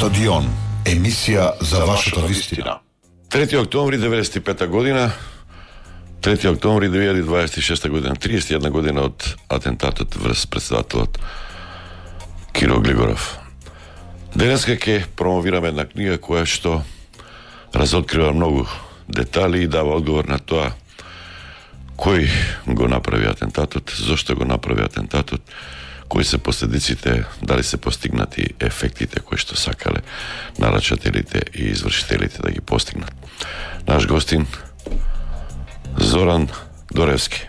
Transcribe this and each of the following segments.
Стадион, емисија за вашата вистина. 3 октомври 95 година, 3 октомври 2026 година, 31 година од атентатот врз председателот Киро Глигоров. Денеска ќе промовираме една книга која што разоткрива многу детали и дава одговор на тоа кој го направи атентатот, зошто го направи атентатот, кои се последиците, дали се постигнати ефектите кои што сакале нарачателите и извршителите да ги постигнат. Наш гостин Зоран Доревски.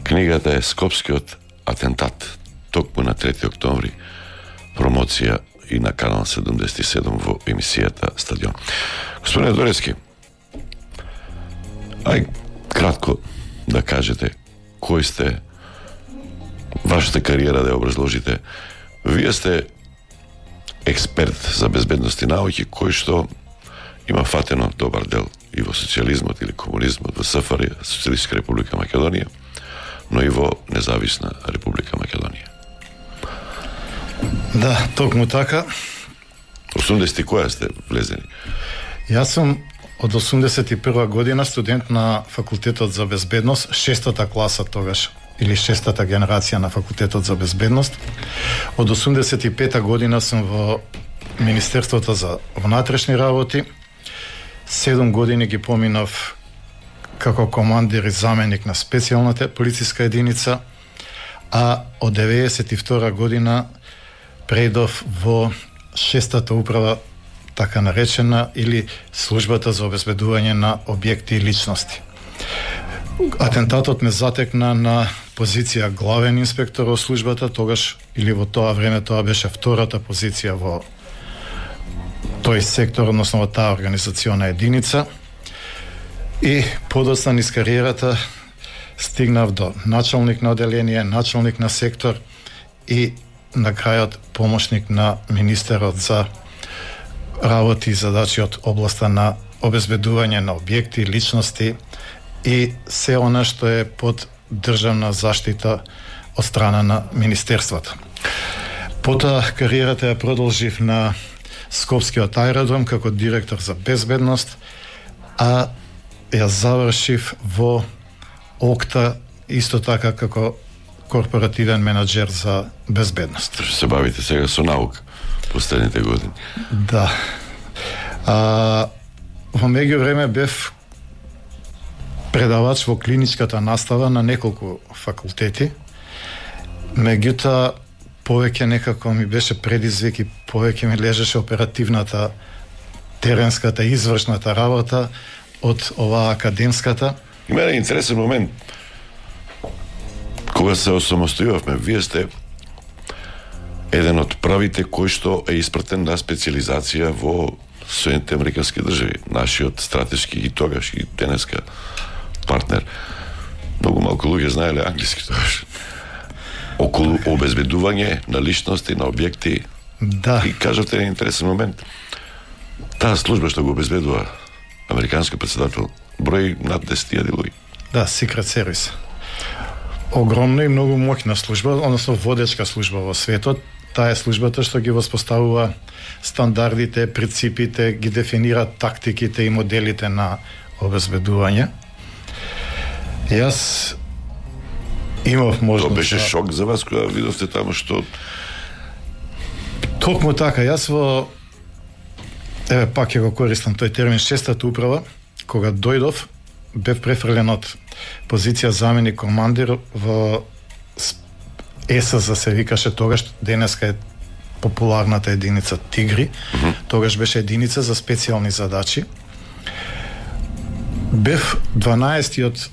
Книгата е Скопскиот атентат, токму на 3 октомври, промоција и на канал 77 во емисијата Стадион. Господине Доревски, ај кратко да кажете кој сте, вашата кариера да ја образложите. Вие сте експерт за безбедност и науки кој што има фатено добар дел и во социјализмот или комунизмот, во СФР, Социјалистичка република Македонија, но и во Независна република Македонија. Да, токму така. 80-ти која сте влезени? Јас сум од 81 година студент на факултетот за безбедност, 6-та класа тогаш, или 6-та генерација на факултетот за безбедност. Од 85 година сум во Министерството за внатрешни работи. 7 години ги поминав како командир и заменик на специјалната полициска единица, а од 92 година преидов во 6-та управа, така наречена, или службата за обезбедување на објекти и личности. Атентатот ме затекна на позиција главен инспектор во службата, тогаш, или во тоа време, тоа беше втората позиција во тој сектор, односно во таа организациона единица. И подоцна низ кариерата стигнав до началник на оделение, началник на сектор и на крајот помошник на министерот за работи и задачи од областа на обезбедување на објекти, личности и се она што е под државна заштита од страна на министерството. Потоа кариерата ја продолжив на Скопскиот аеродром како директор за безбедност, а ја завршив во ОКТА исто така како корпоративен менаџер за безбедност. Што се бавите сега со наука последните години? Да. Во меѓувреме бев предавач во клиничката настава на неколку факултети. Меѓутоа, повеќе некако ми беше предизвик и повеќе ми лежеше оперативната, теренската, извршната работа од оваа академската. Има еден интересен момент. Кога се осамостојувавме, вие сте еден од правите кој што е испратен на специализација во Соединените Американски држави, нашиот стратешки и тогаш и денеска партнер. Многу малку луѓе знаеле англиски тогаш. Околу обезбедување на личности, на објекти. Да. И кажавте еден интересен момент. Таа служба што го обезбедува американски председател број над 10.000 луѓе. Да, Secret Service. Огромна и многу моќна служба, односно водечка служба во светот. Таа е службата што ги воспоставува стандардите, принципите, ги дефинира тактиките и моделите на обезбедување. Јас имав можност... Тоа беше шок за вас кога видовте таму што... Токму така, јас во... Еве, пак ќе го користам тој термин, 6-та управа, кога дојдов, бев префрлен од позиција заменик командир во ЕСЗ се викаше тогаш, денеска е популарната единица Тигри, тогаш беше единица за специјални задачи. Бев 12-тиот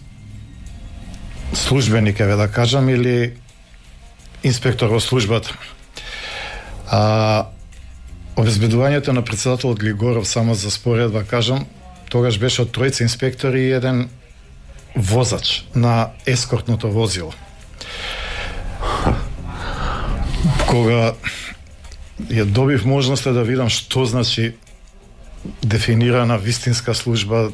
службеник, еве да кажам, или инспектор во службата. Обезбедувањето на председателот Глигоров, само за споредба кажам, тогаш беше од тројца инспектори и еден возач на ескортното возило. Кога ја добив можноста да видам што значи дефинирана вистинска служба,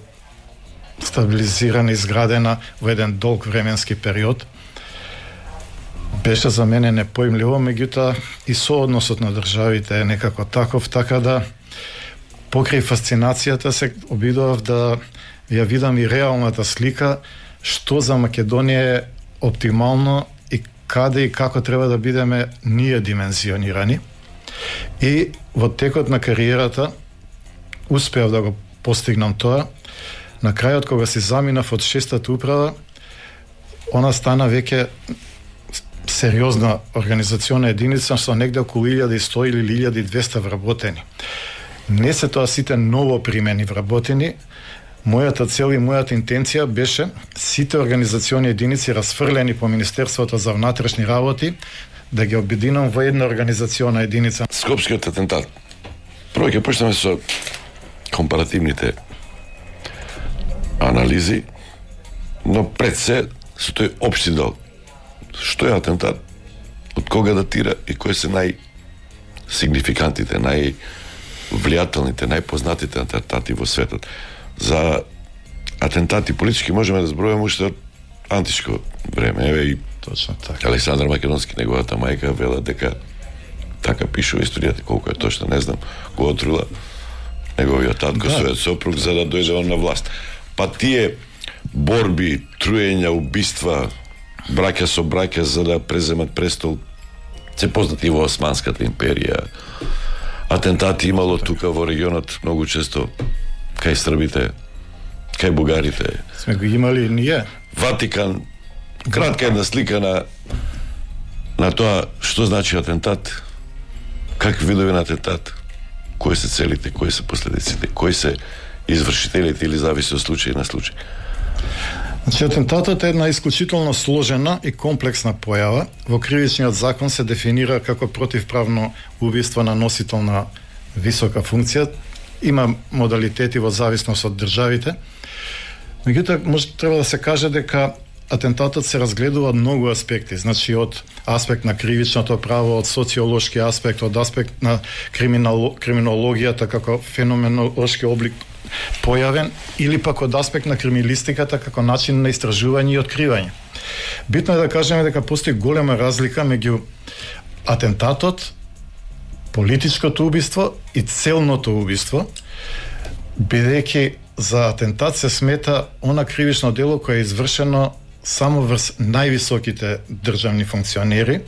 стабилизирана, изградена во еден долг временски период, беше за мене непоимливо, меѓутоа и соодносот на државите е некако таков, така да покрај фасцинацијата се обидував да ја видам и реалната слика што за Македонија е оптимално и каде и како треба да бидеме ние димензионирани. И во текот на кариерата успеав да го постигнам тоа. На крајот, кога си заминав од 6-та управа, она стана веќе сериозна организациона единица со негде околу 1100 или 1200 вработени. Не се тоа сите ново примени вработени. Мојата цел и мојата интенција беше сите организациони единици расфрлени по Министерството за внатрешни работи да ги обединам во една организациона единица. Скопскиот атентат. Прво ќе почнеме со компаративните анализи, но пред се со тој општи дел. Што е атентат? Од кога датира и кои се најсигнификантните, највлијателните, најпознатите атентати во светот? За атентати политички можеме да збројаме уште од античко време. Еве и точно така. Александар Македонски, неговата мајка, вела дека така пише во историјата, колку е точно, не знам, го отрула неговиот татко, својот сопруг, за да дојде он на власт. Па тие борби, труења, убиства, браќа со браќа за да преземат престол, се познати во Османската империја. Атентати имало тука во регионот многу често кај србите, кај бугарите. Сме го имали ние. Ватикан, кратка една слика на тоа што значи атентат, какви видови на атентат, кои се целите, кои се последиците, кои се извршителите или зависи од случај на случај. Значи, атентатот е една исклучително сложена и комплексна појава. Во кривичниот закон се дефинира како противправно убиство на носител на висока функција. Има модалитети во зависност од државите. Меѓутоа, може треба да се каже дека атентатот се разгледува од многу аспекти, значи од аспект на кривичното право, од социолошки аспект, од аспект на криминологијата како феноменолошки облик појавен, или пак од аспект на криминалистиката како начин на истражување и откривање. Битно е да кажеме дека постои голема разлика меѓу атентатот, политичкото убиство и целното убиство, бидејќи за атентат се смета она кривично дело кое е извршено само врз највисоките државни функционери.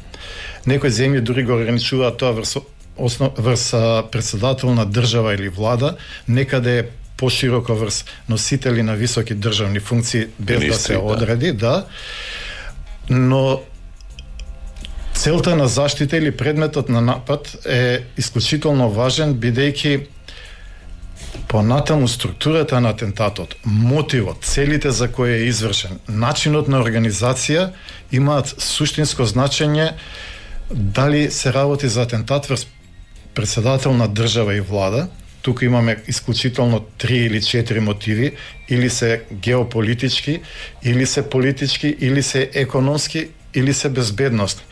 Некои земји дури го ограничуваат тоа врз председател на држава или влада, некаде пошироко врз носители на високи државни функции, без да се одреди, да. Но целта на заштита или предметот на напад е исклучително важен, бидејќи понатаму структурата на атентатот, мотивот, целите за кои е извршен, начинот на организација имаат суштинско значење дали се работи за атентат врз председател на држава и влада. Тука имаме исклучително 3 или 4 мотиви, или се геополитички, или се политички, или се економски, или се безбедност.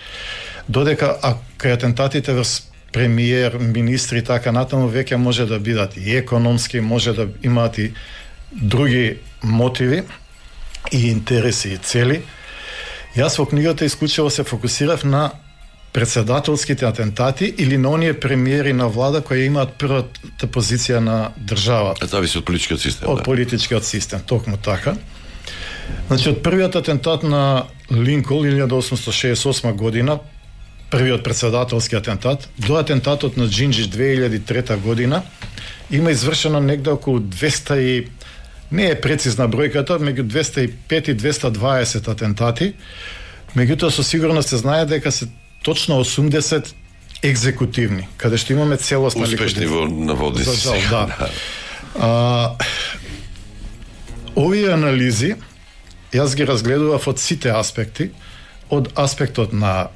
Додека кај атентатите врз премиер, министри и така натаму веќе може да бидат и економски, може да имаат и други мотиви и интереси и цели. Јас во книгата исклучиво се фокусирав на председателските атентати или на оние премиери на влада кои имаат првата позиција на државата. Зависи од политичкиот систем. Од политичкиот систем, токму така. Значи, од првиот атентат на Линкол 1868 година, првиот председателски атентат, до атентатот на Џинџиш 2003 година, има извршено негде околу 200 и не е прецизна бројката, меѓу 205 и 220 атентати. Меѓутоа со сигурност се знае дека се точно 80 екзекутивни, каде што имаме целосна успешни во наводници. За жал, да. Овие анализи јас ги разгледував од сите аспекти, од аспектот на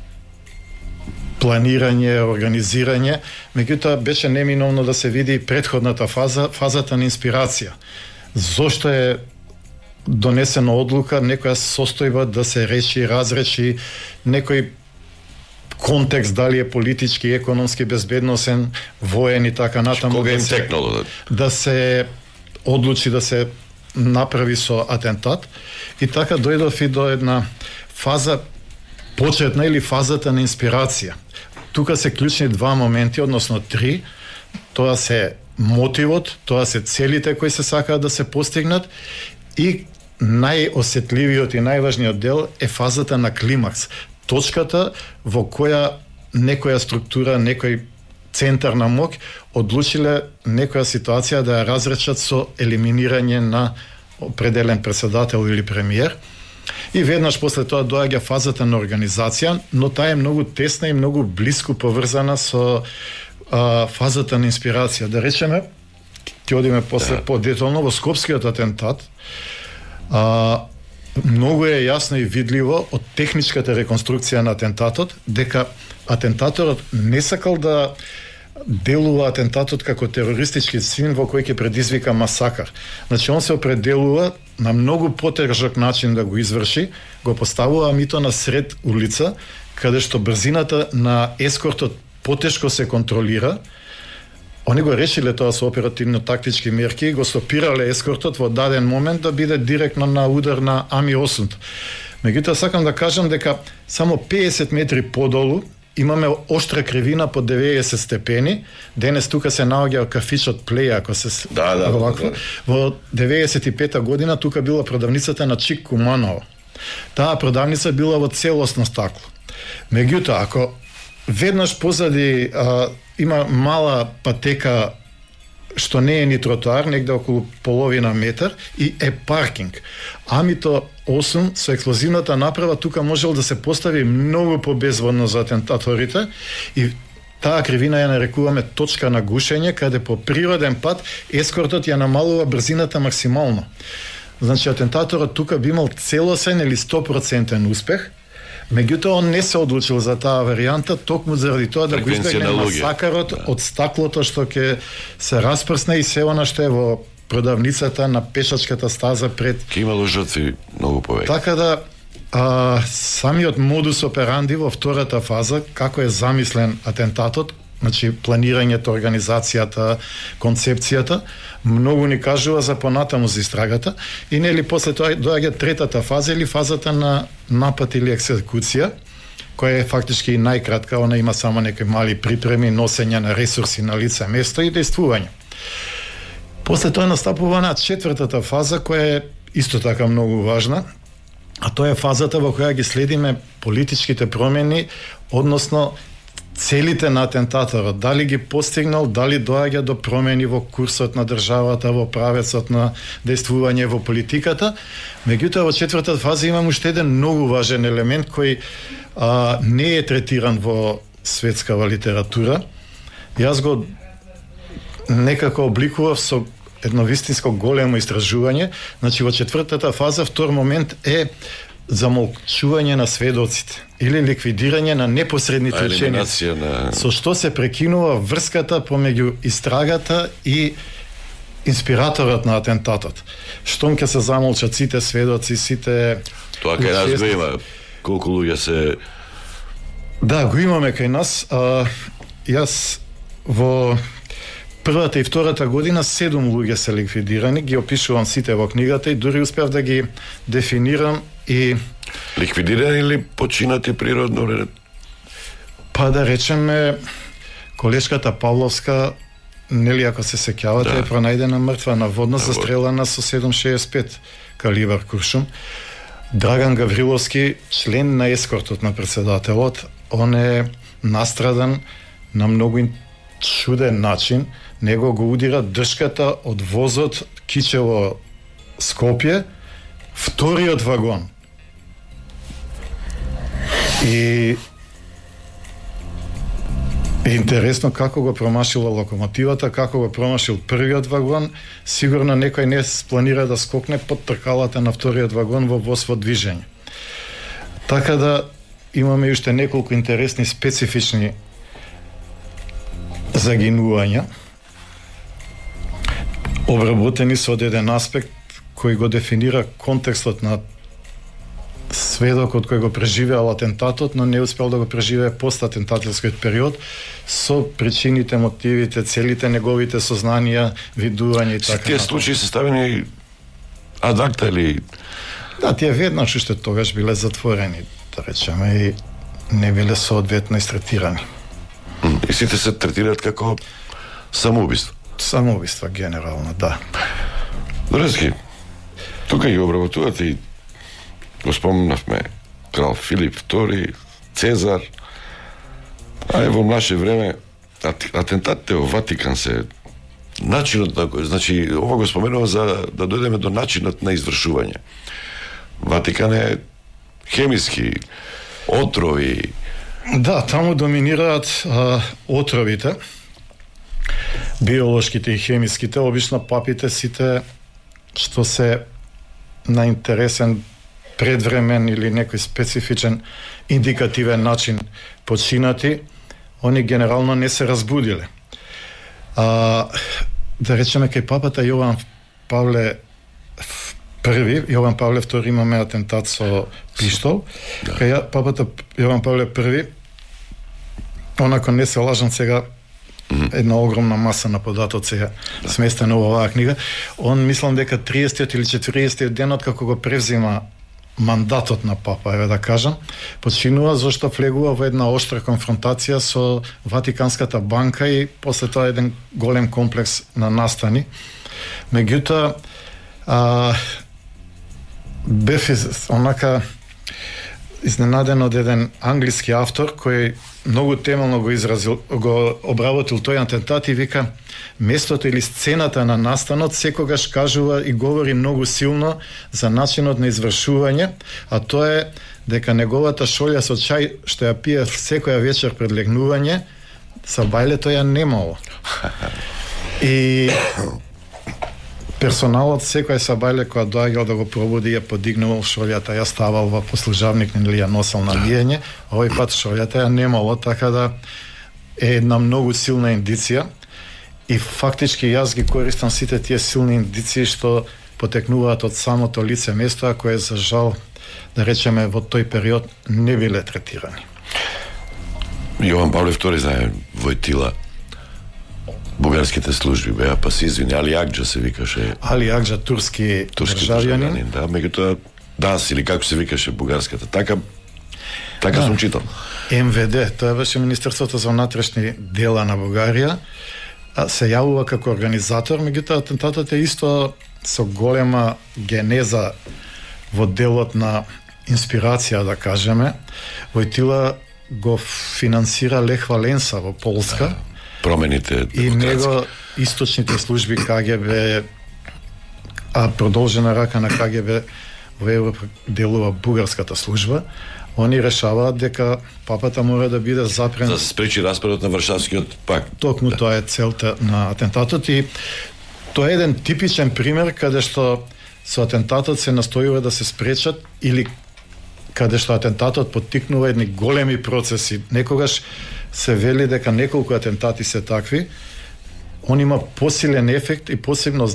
планирање, организирање, меѓутоа беше неминовно да се види претходната фаза, фазата на инспирација. Зошто е донесена одлука, некоја состојба да се реши, разреши, некој контекст, дали е политички, економски, безбедносен, воен и така натаму. Кога им текнало? Да се одлучи да се направи со атентат. И така дојдов и до една фаза почетна или фазата на инспирација. Тука се клучни два моменти, односно три. Тоа се мотивот, тоа се целите кои се сакаат да се постигнат и најосетливиот и најважниот дел е фазата на климакс. Точката во која некоја структура, некој центар на моќ одлучиле некоја ситуација да ја разречат со елиминирање на определен председател или премиер. И веднаш после тоа доаѓа фазата на организација, но таа е многу тесна и многу блиску поврзана со фазата на инспирација. Да речеме, ќе одиме после подетално во Скопскиот атентат. Многу е јасно и видливо од техничката реконструкција на атентатот дека атентаторот не сакал да делува атентатот како терористички чин во кој ќе предизвика масакар. Значи, он се определува на многу потежок начин да го изврши, го поставува мито на сред улица, каде што брзината на ескортот потешко се контролира. Они го решиле тоа со оперативно-тактички мерки и го стопирале ескортот во даден момент да биде директно на удар на Ами-8. Меѓутоа, сакам да кажам дека само 50 метри подолу имаме оштра кривина по 90 степени. Денес тука се наоѓа кафичот Плеј, ако се овакво. Во 95-та година тука била продавницата на Чик Куманово. Таа продавница била во целосно стакло. Меѓутоа, ако веднаш позади има мала патека што не е ни тротоар, негде околу половина метар и е паркинг. Амито 8 со експлозивната направа тука можел да се постави многу побезводно за атентаторите и таа кривина ја нарекуваме точка на гушење, каде по природен пат ескортот ја намалува брзината максимално. Значи, атентаторот тука би имал целосен или 100% успех. Меѓутоа, он не се одлучил за таа варијанта, токму заради тоа да го избегне масакарот од стаклото што ќе се распрсне и се она што е во продавницата на пешачката стаза пред... Ке имало жртви многу повеќе. Така да, самиот модус операнди во втората фаза, како е замислен атентатот, значи планирањето, организацијата, концепцијата, многу ни кажува за понатаму за истрагата и нели после тоа доаѓа третата фаза или фазата на напад или екзекуција, која е фактички најкратка, она има само некои мали припреми, носење на ресурси на лице место и действување. После тоа настапува на четвртата фаза, која е исто така многу важна, а тоа е фазата во која ги следиме политичките промени, односно целите на атентаторот, дали ги постигнал, дали доаѓа до промени во курсот на државата, во правецот на действување во политиката. Меѓутоа, во четвртата фаза имам уште еден многу важен елемент кој не е третиран во светскава литература. Јас го некако обликував со едно вистинско големо истражување. Значи, во четвртата фаза, втор момент е замолчување на сведоците или ликвидирање на непосредните ученици, со што се прекинува врската помеѓу истрагата и инспираторот на атентатот. Штом ќе се замолчат сите сведоци, сите... Тоа кај нас го има. Колку луѓе се... Да, го имаме кај нас. Јас во првата и втората година 7 луѓе се ликвидирани, ги опишувам сите во книгата и дури успеав да ги дефинирам и... Ликвидирани или починати природно? Па да речеме, колешката Павловска, нели ако се сеќавате, е пронајдена мртва наводно, застрелана со 7,65 калибар куршум. Драган Гавриловски, член на ескортот на председателот, он е настрадан на многу чуден начин. Него го удира дршката од возот Кичево Скопје, вториот вагон. И интересно како го промашила локомотивата, како го промашил првиот вагон. Сигурно некој не планира да скокне под тркалата на вториот вагон во воз во движење. Така да имаме уште неколку интересни специфични загинувања, обработени со еден аспект кој го дефинира контекстот на сведокот кој го преживеал атентатот, но не успел да го преживее постатентателскиот период со причините, мотивите, целите неговите сознанија, видување и така. Тие случаи се ставени ад акта или... Да, тие веднаш уште тогаш биле затворени. да речеме, и не биле соодветно истретирани. И сите се третираат како самоубиство. Самоубиство генерално, да. Врски, тука ги обработуват и го спомнавме крал Филип II, Цезар, а во наше време атентатите во Ватикан се начинот на кој, значи, ова го споменува за да дојдеме до начинот на извршување. Ватикан е хемиски, отрови. Да, таму доминираат отровите, биолошките и хемиските, обично папите сите што се на интересен предвремен или некој специфичен индикативен начин починати, они генерално не се разбудиле. Да речеме, кај папата Јован Павле I, Јован Павле II имаме атентат со пиштол. Да. Кај папата Јован Павле I, онако не се лажам сега, една огромна маса на податоци е сместена во оваа книга. Он мислам дека 30 или 40 денот како го превзима мандатот на папа, еве да кажам, починува зашто влегува во една оштра конфронтација со Ватиканската банка и после тоа еден голем комплекс на настани. Меѓутоа, бев онака изненаден од еден англиски автор кој многу темелно го обработил тој атентат и вика, местото или сцената на настанот секогаш кажува и говори многу силно за начинот на извршување, а тоа е дека неговата шолја со чај што ја пие секоја вечер пред легнување, сабајлето ја немало. И персоналот секој сабајле која доаѓал да го пробуди ја подигнувал шолјата, ја ставал во послужавник или ја носел на лиење, овој пат шолјата ја немало, така да е една многу силна индиција и фактички јас ги користам сите тие силни индиции што потекнуваат од самото лице место, а кое за жал, да речеме, во тој период не биле третирани. Јован Павле II, знае, Војтила, бугарските служби беа, па се извини, Али Акџа се викаше. Али Акџа, турски државјанин. Да, меѓутоа, ДАС или како се викаше бугарската, така да. Сум читал. МВД, тоа беше Министерството за внатрешни дела на Бугарија, се јавува како организатор, меѓутоа атентатот е исто со голема генеза во делот на инспирација, да кажеме. Војтила го финансира Лех Валенса во Полска. Да, промените и него источните служби КГБ, а продолжена рака на КГБ во Европа делува бугарската служба. Они решаваат дека папата мора да биде запрен за да се спречи распадот на Варшавскиот пакт. Токму тоа е целта на атентатот и тоа е еден типичен пример каде што со атентатот се настојува да се спречат или каде што атентатот поттикнува едни големи процеси. Некогаш се вели дека неколку атентати се такви, он има посилен ефект и посилно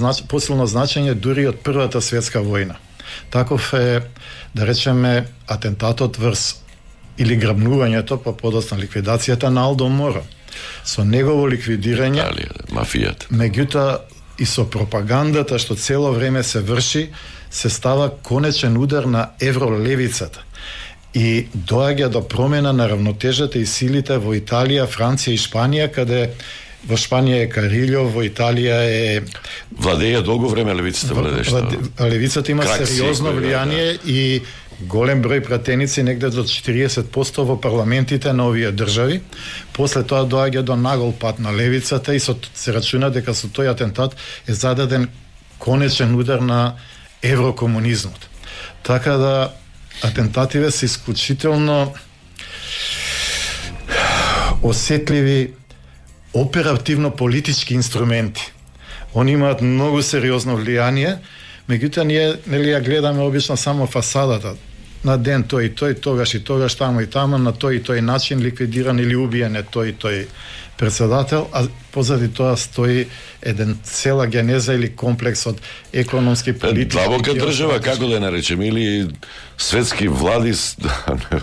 значење дури од Првата светска војна. Таков е, да речеме, атентатот врз или грабнувањето, па подоцна ликвидацијата на Алдо Моро. Со негово ликвидирање, мафијата. Меѓутоа и со пропагандата што цело време се врши, се става конечен удар на евролевицата. И доаѓа до промена на равнотежата и силите во Италија, Франција и Шпанија, каде во Шпанија е Карилјо, во Италија е... Владеја долго време левицата владеște. Левицата има сериозно влијание и голем број пратеници, негде до 40% во парламентите на овие држави. После тоа доаѓа до нагол пат на левицата и се рачуна дека со тој атентат е зададен конечен удар на еврокомунизмот. Така да атентативе се исклучително осетливи оперативно политички инструменти. Они имаат многу сериозно влијание, меѓутоа ние нели ја гледаме обично само фасадата. На ден тој и тој, тогаш и тогаш, тамо и тамо, на тој и тој начин ликвидиран или убиен е тој и тој председател, а позади тоа стои еден цела генеза или комплекс од економски, политички... Длабока држава, како да ја наречеме, или светски влади,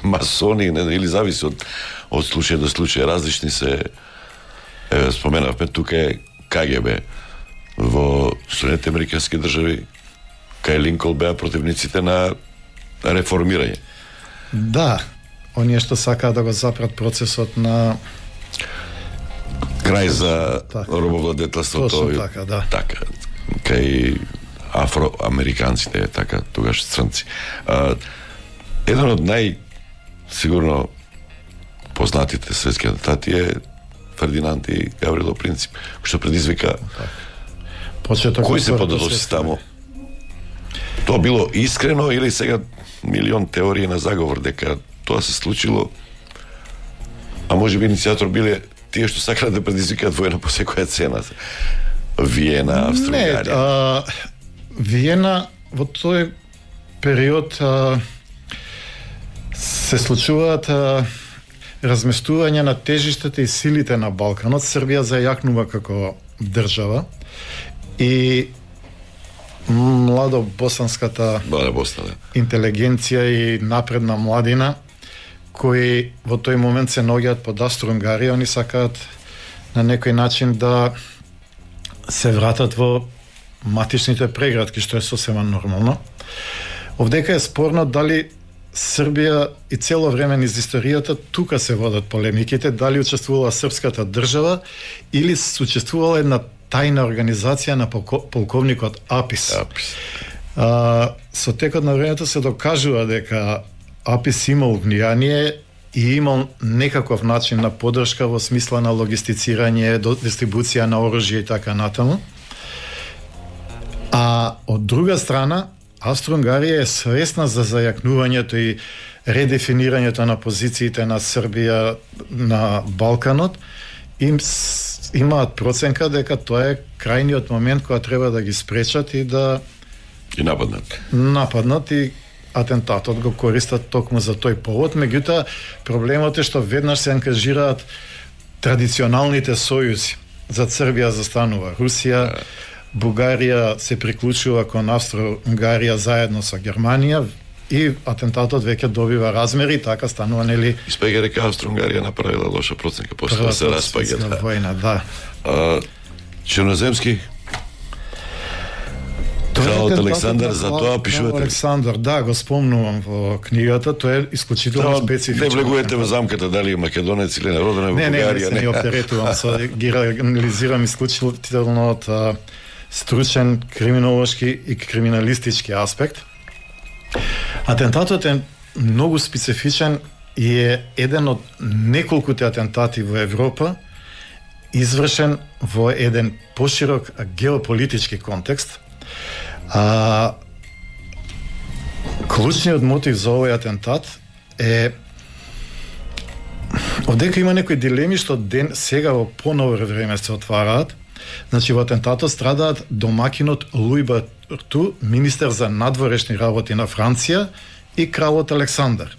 масони, или зависи од случај до случај, различни се... Споменавме, тука е КГБ во Соединетите американски држави, кај Линкол беа противниците на реформирање. Да, оние што сакаат да го запрат процесот на крај за така, робовладетелството. Точно така, да. Така, кај афроамериканците, така, тогаш црнци. Еден од сигурно познатите светски атентати е Фердинанд и Гаврило Принцип, што предизвика кој се пододоси таму. Тоа било искрено или сега милион теории на заговор дека тоа се случило, а може би иницијатор биле тие што сакале да предизвикаат војна по секоја цена. Виена, Австро-Унгарија. Не, Виена во тој период се случуваат разместување на тежиштата и силите на Балканот. Србија зајакнува како држава и младо босанската интелигенција и напредна младина кои во тој момент се наоѓаат под Австро-Унгарија, они сакаат на некој начин да се вратат во матичните преградки, што е сосема нормално. Овдека е спорно дали Србија и цело време низ историјата тука се водат полемиките, дали учествувала српската држава или учествувала една тајна организација на полковникот Апис. Со текот на времето се докажува дека Апис имал влијание и имал некаков начин на поддршка во смисла на логистицирање, дистрибуција на оружје и така натаму. А од друга страна, Австро-Унгарија е свесна за зајакнувањето и редефинирањето на позициите на Србија на Балканот. Имаат проценка дека тоа е крајниот момент кога треба да ги спречат и да нападнат и атентатот го користат токму за тој повод. Меѓутоа, проблемот е што веднаш се ангажираат традиционалните сојузи. За Србија застанува Русија, Бугарија се приклучува кон Австро-Унгарија заедно со Германија и атентатот веќе добива размери, така станува, нели? Испега дека Австро-Унгарија направила лоша проценка после да се распаѓа. Војна, да. Черноземски Кралот Александар, за тоа пишувате. Александар, да, го спомнувам во книгата, тоа е исклучително специфично. Не влегувате во замката дали е македонец или народен во Бугарија. Не оперетувам, ги анализирам исклучително од стручен криминолошки и криминалистички аспект. Атентатот е многу специфичен и е еден од неколкуте атентати во Европа, извршен во еден поширок геополитички контекст. Клучниот мотив за овој атентат е овдека има некои дилеми што сега во поново време се отвараат. Значи, во атентатот страдаат домакинот Луи Барту, министер за надворешни работи на Франција, и кралот Александар.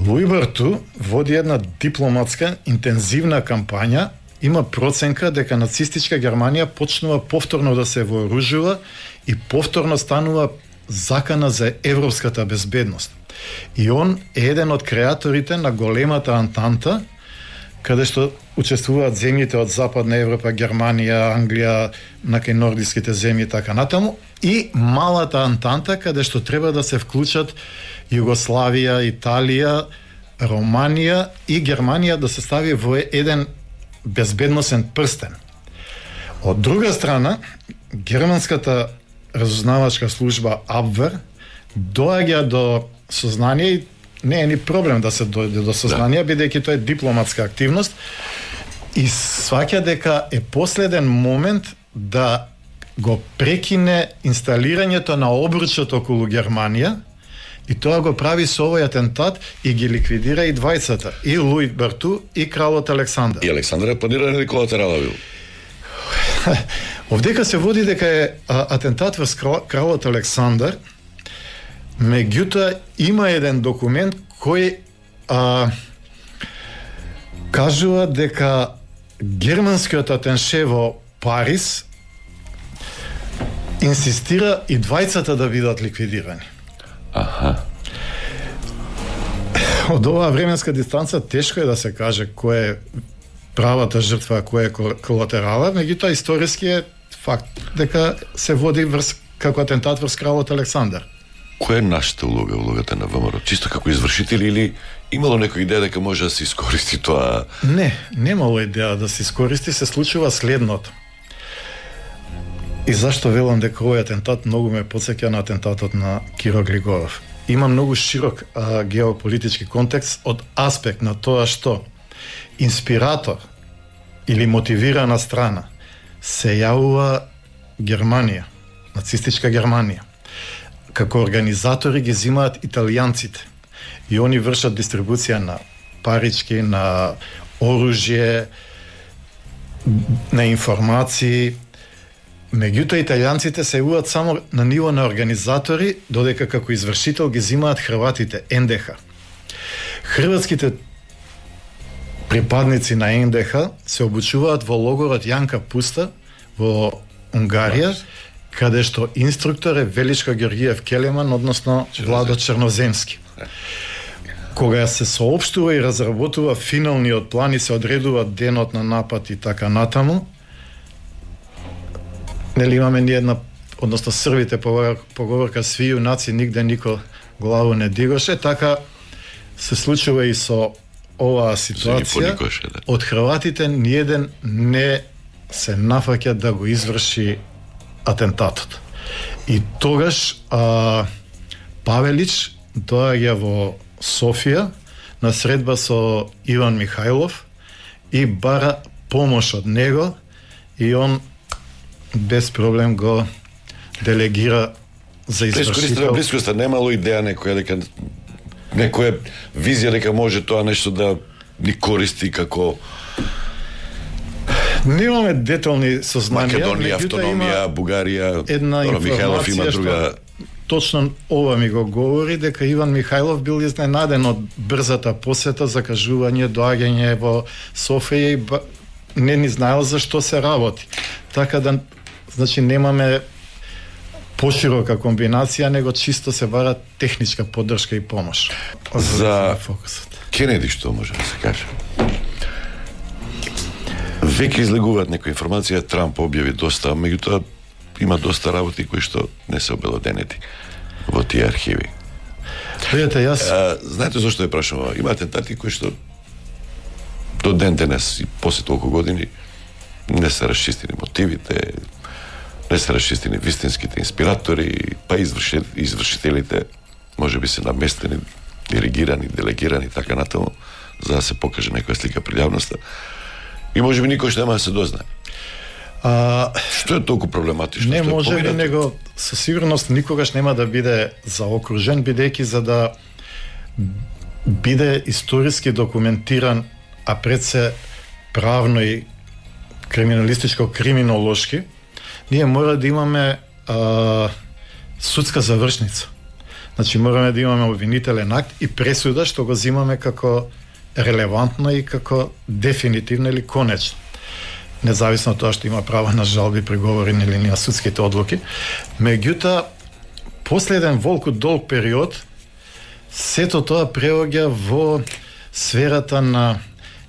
Луи Барту води една дипломатска интензивна кампања, има проценка дека нацистичка Германија почнува повторно да се вооружува и повторно станува закана за европската безбедност. И он е еден од креаторите на големата Антанта, каде што учествуваат земјите од Западна Европа, Германија, Англија, накај нордиските земји и така натаму, и малата Антанта, каде што треба да се вклучат Југославија, Италија, Романија и Германија да се стави во еден безбедносен прстен. Од друга страна, германската разузнавачка служба Абвер доаѓа до сознание и не е ни проблем да се дојде до сознание, бидејќи тоа е дипломатска активност и сваќа дека е последен момент да го прекине инсталирањето на обручот околу Германија и тоа го прави со овој атентат и ги ликвидира и двајцата, и Луи Барту и кралот Александар. И Александар е планиран или колатерала бил? Овдека се води дека е атентат врз кралот Александар, меѓутоа има еден документ кој кажува дека германскиот атенше во Париз инсистира и двајцата да бидат ликвидирани. Од оваа временска дистанца тешко е да се каже кој е правата жртва, а кој е колатерала, меѓутоа историски е факт дека се води како атентат врз кралот Александар. Која е нашата улога, улогата на ВМРО? Чисто како извршители или имало некоја идеја дека може да се искористи тоа? Не, немало идеја да се искористи, се случува следното. И зашто велам дека овој атентат многу ме потсеќа на атентатот на Киро Глигоров. Има многу широк геополитички контекст од аспект на тоа што инспиратор или мотивирана страна се јавува Германија, нацистичка Германија. Како организатори ги земаат италијанците и они вршат дистрибуција на парички, на оружје, на информации. Меѓутоа италијанците се јавуваат само на ниво на организатори, додека како извршител ги земаат хрватите, НДХ. Хрватските припадници на НДХ се обучуваат во логорот Јанка Пуста во Унгарија, каде што инструктор е Величко Георгиев Келеман, односно Владо Черноземски. Кога се соопштува и разработува финалниот план и се одредува денот на напад и така натаму, нели имаме ни една, односно срвите поговорка сви јунаци нигде нико главу не дигоше, така се случува и со оваа ситуација. Од хрватите ниеден не се нафаќа да го изврши атентатот. И тогаш Павелич доаѓа во Софија на средба со Иван Михајлов и бара помош од него и он без проблем го делегира за извршител. Блискоста немало идеја некоја визија дека може тоа нешто да ни користи како немаме детални сознанија. Македонија, автономија, Бугарија, една Михајлов има друга. Точно ова ми го говори дека Иван Михајлов бил изненаден од брзата посета, закажување, доаѓање во Софија и не ни знаел за што се работи. Така да, значи, немаме поширока комбинација, него чисто се бара техничка поддршка и помош. За Кенеди што може да се каже? Веќе излегуваат некоја информација, Трамп објави доста, меѓутоа има доста работи кои што не се обелоденети во тие архиви. Видете, јас... знаете зашто ја прашам ова? Има атентати кои што до ден денес и после толку години не се расчистени мотивите, не се расчистени вистинските инспиратори, па извршителите може би се наместени, диригирани, делегирани, така натаму, за да се покаже некоја слика пред јавноста. И може би никој што нема да се дознае. Што е толку проблематично? Не може би, него со сигурност никогаш нема да биде заокружен, бидејќи за да биде историски документиран, а пред се правно и криминалистичко-криминолошки, ние мора да имаме судска завршница. Значи мораме да имаме обвинителен акт и пресуда што го земаме како релевантно и како дефинитивно или конечно. Независно од тоа што има право на жалби, приговори или на судските одлуки. Меѓутоа, после еден волку долг период, сето тоа преоѓа во сферата на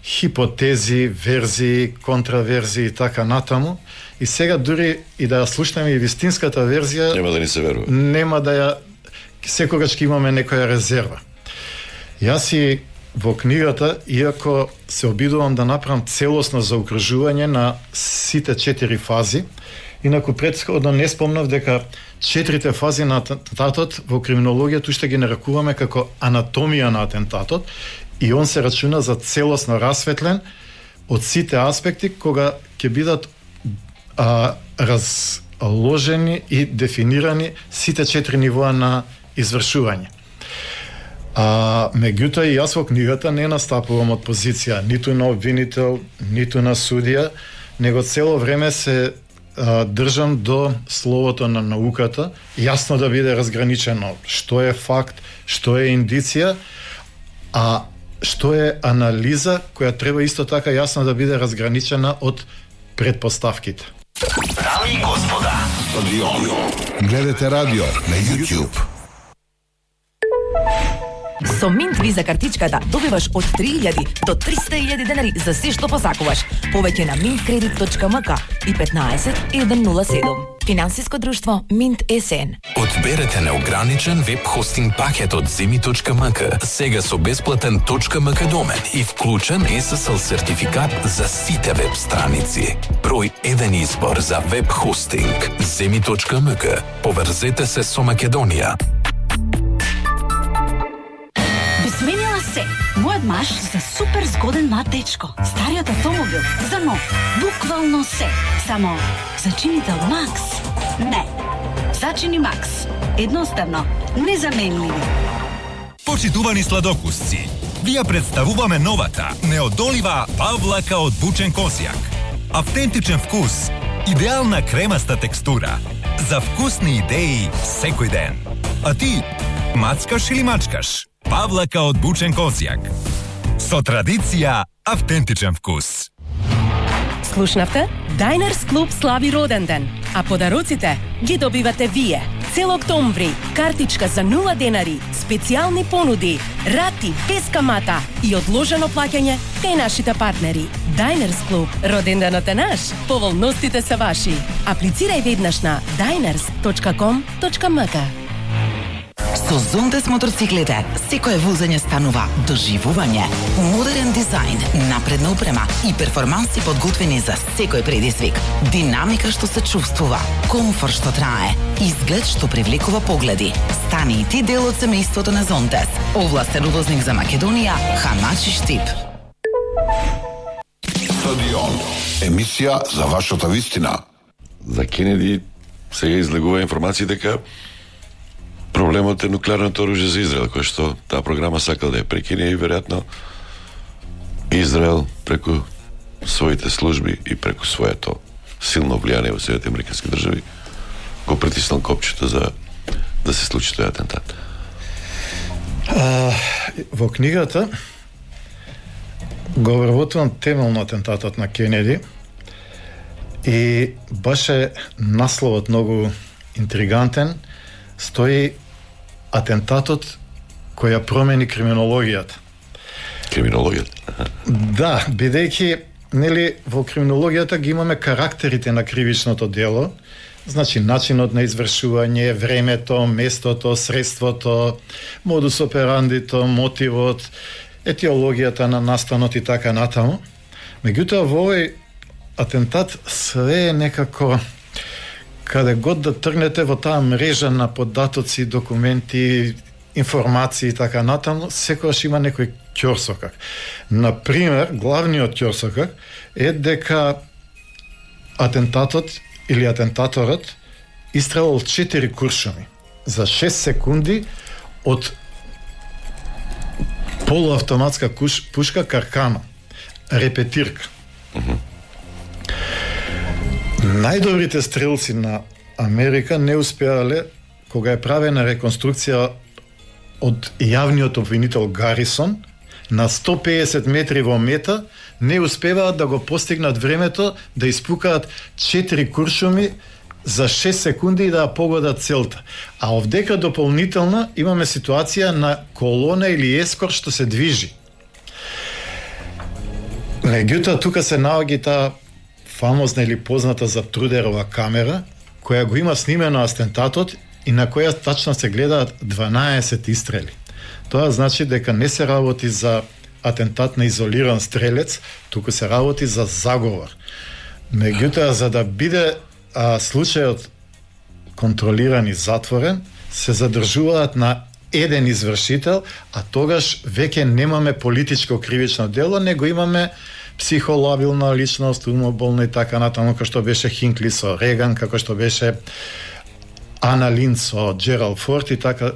хипотези, верзии, контраверзии и така натаму. И сега дури и да ја слушнеме и вистинската верзија, нема да ни се верува. Нема да ја секогаш ќе имаме некоја резерва. Јас и во книгата, иако се обидувам да направам целосно заокружување на сите 4 фази, инаку претходно не спомнав дека 4 фази на атентатот во криминологијата уште ги нарекуваме како анатомија на атентатот и он се рачуна за целосно расветлен од сите аспекти кога ќе бидат разложени и дефинирани сите 4 нивоа на извршување. Меѓутоа и јас во книгата не настапувам од позиција ниту на обвинител, ниту на судија, него цело време се држам до словото на науката, јасно да биде разграничено што е факт, што е индиција, а што е анализа која треба исто така јасно да биде разграничена од предпоставките. Дами и господа, Гледате радио на YouTube. Со Минт Виза картичката добиваш од 3000 до 300.000 денари за се што посакуваш. Повеќе на mintkredit.mk и 15 107. Финансиско друштво Минт СН. Одберете неограничен веб хостинг пакет од Zemi.mk, сега со бесплатен .mk домен и вклучен SSL сертификат за сите веб страници. Број еден избор за веб хостинг. Zemi.mk. Поврзете се со Македонија. Сменила се. Мојот маж за супер згоден млад дечко. Стариот автомобил за нов. Буквално се. Само зачинител Макс. Не. Зачини Макс. Едноставно, незаменливи. Почитувани сладокусци, ви ја представуваме новата, неодолива павлака од бучен козјак. Автентичен вкус, идеална кремаста текстура, за вкусни идеи секој ден. А ти, мацкаш или мачкаш? Павлака од бучен козјак. Со традиција, автентичен вкус. Слушнавте? Diners Club слави роден ден, а подароците ги добивате вие. Цел октомври, картичка за 0 денари, специјални понуди, рати без камата и одложено плаќање кај нашите партнери. Diners Club, роден денот е наш, поволностите се ваши. Аплицирај веднаш на diners.com.mk. Со Зонтес мотоциклите, секое возење станува доживување. Модерен дизајн, напредна опрема и перформанси подготвени за секој предизвик. Динамика што се чувствува, комфорт што трае, изглед што привлекува погледи. Стани и ти дел од семејството на Зонтес. Овластен увозник за Македонија, Хамач и Штип. Стадион. Емисија за вашата вистина. За Кенеди сега излегува информација дека проблемот е нуклеарното оружје за Израел, кој што таа програма сакал да ја прекине и веројатно Израел преку своите служби и преку своето силно влијание во Соединетите американски држави го притиснал копчето за да се случи тој атентат. Во книгата го вработувам темелно атентатот на Кенеди и баш е насловот многу интригантен. Стои атентатот кој ја промени криминологијата. Криминологијата? Да, бидејќи нели во криминологијата ги имаме карактерите на кривичното дело, значи начинот на извршување, времето, местото, средството, модус операндито, мотивот, етиологијата на настанот и така натаму. Меѓутоа во овој атентат све е некако каде год да тргнете во таа мрежа на податоци, документи, информации и така натаму, секогаш има некој ќорсокак. Например, главниот ќорсокак е дека атентатот или атентаторот истрелал 4 куршуми за 6 секунди од полуавтоматска пушка Каркано, репетирка. Најдобрите стрелци на Америка не успеале, кога е правена реконструкција од јавниот обвинител Гарисон, на 150 метри во мета, не успеваат да го постигнат времето да испукаат 4 куршуми за 6 секунди и да ја погодат целта. А овдека дополнително имаме ситуација на колона или ескор што се движи. Меѓутоа, тука се наоѓа таа фамозна или позната за Трудерова камера, која го има снимено атентатот и на која тачно се гледаат 12 истрели. Тоа значи дека не се работи за атентат на изолиран стрелец, туку се работи за заговор. Меѓутоа, за да биде случајот контролиран и затворен, се задржуваат на еден извршител, а тогаш веќе немаме политичко кривично дело, него имаме психолабилна личност, умоболна и така натаму, како што беше Хинкли со Реган, како што беше Ана Линд со Джералд Форд и така.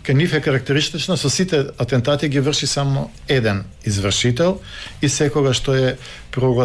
Кај нив е карактеристично, со сите атентати ги врши само еден извршител и секогаш што е прогласен